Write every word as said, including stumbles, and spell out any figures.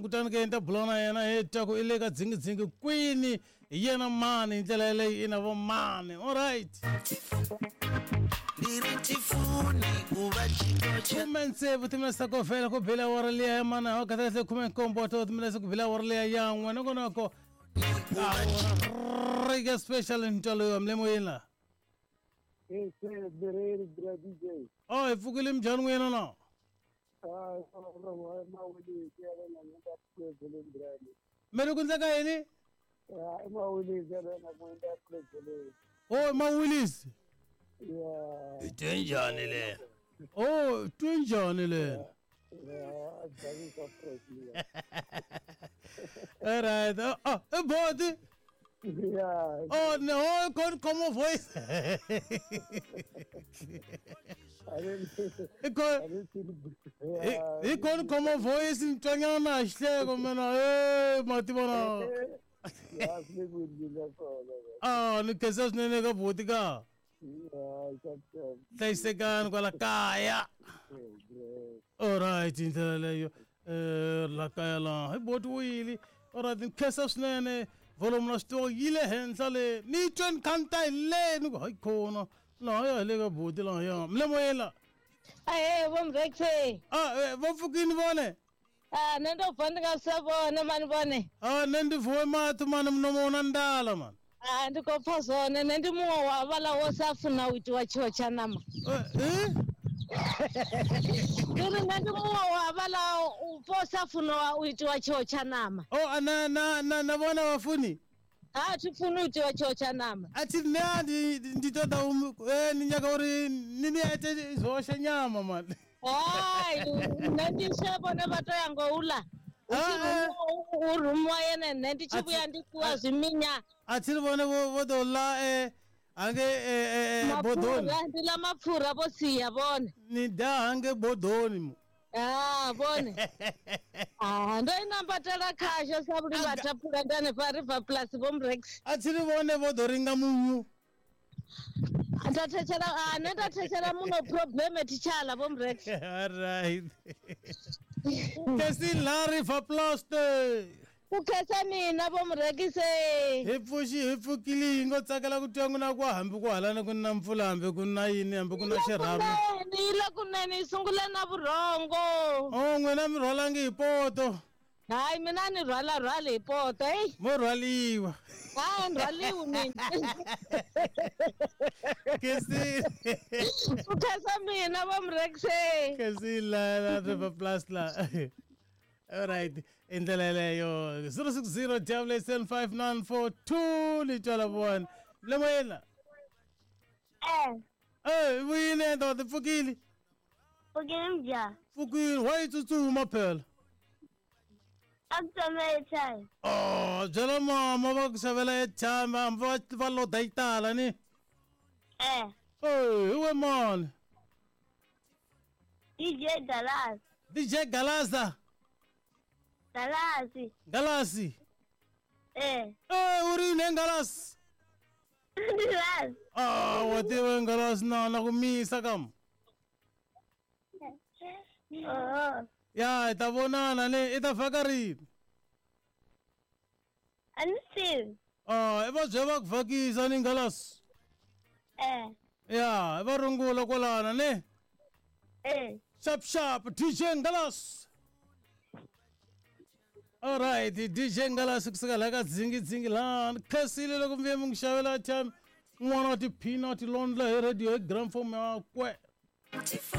Kutani ke ni ta bula na yena hi twa ku i le ka dzingidzingi kwini hi yena mani hi ndlela yaleyo i na vo mani alright khume tsevu timinetse ta ku vhela ku bela awara liya ya mana wa kahle khume nkombo wa timinetse ku bela awara liya ya n'we nongonoko awara special ntwalo yo mle moyeni la oh hi pfukile minjhani n'wina na mi ri ku endleka yini oh mawilisi i twe njhani le oh twe njhani le alright oh, oh i boti oh no oh come voice hi kona khoma voice ni twanyana xihleko mina e ma tivona a ni khensa swinene ka buti ka hlayisekani kwala kaya alright hi ndlela leyo um la kaya laha hi boti wuyile alright ni khensa swinene volume na switivo yi le henhla le ni twe ni kha ni ta hi le ni ku hayi khona laha ya hi le ka buti lahaya mi le moyeni la ahe vo mrexe a vo pfukini vone a nṋe ndo bva ndi nga sa vhone mani vhone a nṋe ndi vuwe maṱo mani munomo una ndala mani a ndi khou pfa zwone nṋe ndi muṅwe wa vhaḽa wo sa funa u itiwa tshiwo tsha ṋama ndi ri nṋe ndi muṅwe wa vhaḽa wo sa funa u itiwa tshiwo tsha ṋama o na na na na vhona vhafuni a thi funi u itiwa tshiwo tsha ṋama a thi nṋe ndi ndi ṱoḓa u ni nyaga uri ni ni ite zwoxe nyama mani hai nṋe ndi she vhone vha to ya ngo uḽa u rumiwa yene nṋe ndi tshi vhuya ndi fhiwa zwiminya a thi ri vhone vho ḓo ḽa hange bodoni ndi ḽa mapfura vho sia vhone ni da hange bodoni mo ah vhone ah ndo i nambatela khasho sa vhuli vha thaphula ndi hanefha River Plus vho Mrex a thi ri vhone vho ḓo ringa munyu nda thetshela a nṋe nda thetshela muno problem thitshala vho Mrex alright kesi la River Plus ku khensa mina vo Mrekise hi pfuxi hi pfukile hi ngo tsakela ku twa n'wina ku hambi ku halani ku na mpfula hambi ku na yini hambi ku na xirhami yi le kunene yi sungule na vurhongo o n'wina mi rhwalangi hi poto hayi mina ni rhwala rhwali hi poto eyi mo rhwaliwa hayi ni rhwaliwi mina kesi ku khensa mina vo Mrekise kesi la la River Plus la alright i ndlela yeleyo zero six zero double eight seven five nine four two ni twala vona le moyeni Eh. Eh vuyile ndoda pfukile Pfukile mja. Pfukile wa yi tsutsuma phela A ku tsema airtime. Oh byela mama va ku xavela airtime hambi va va loda yi tala ni Eh. Eh hi we mani D J Galas. D J Galaza Galasi. Galasi. Eh. Eh, u ri yini Galasi? Galasi. Ah, wa tiva Galasi na na ku misa kam. Oh. Ya, hi ta vonana ne i ta vhaka rini? A ni tivi. Ah, i va bye va ku vhakisa ni Galasi. Eh. Ya, i va rungula kwalana ne. Eh. Sharp sharp D J Galasi. Alright, D J Ngalasi kusuka la ka dzingidzingi laha ni khensile loko mi vuye mi n'wi xavela airtime n'wana wa tiphina wa tilondla hi radio hi gramophone yakwe.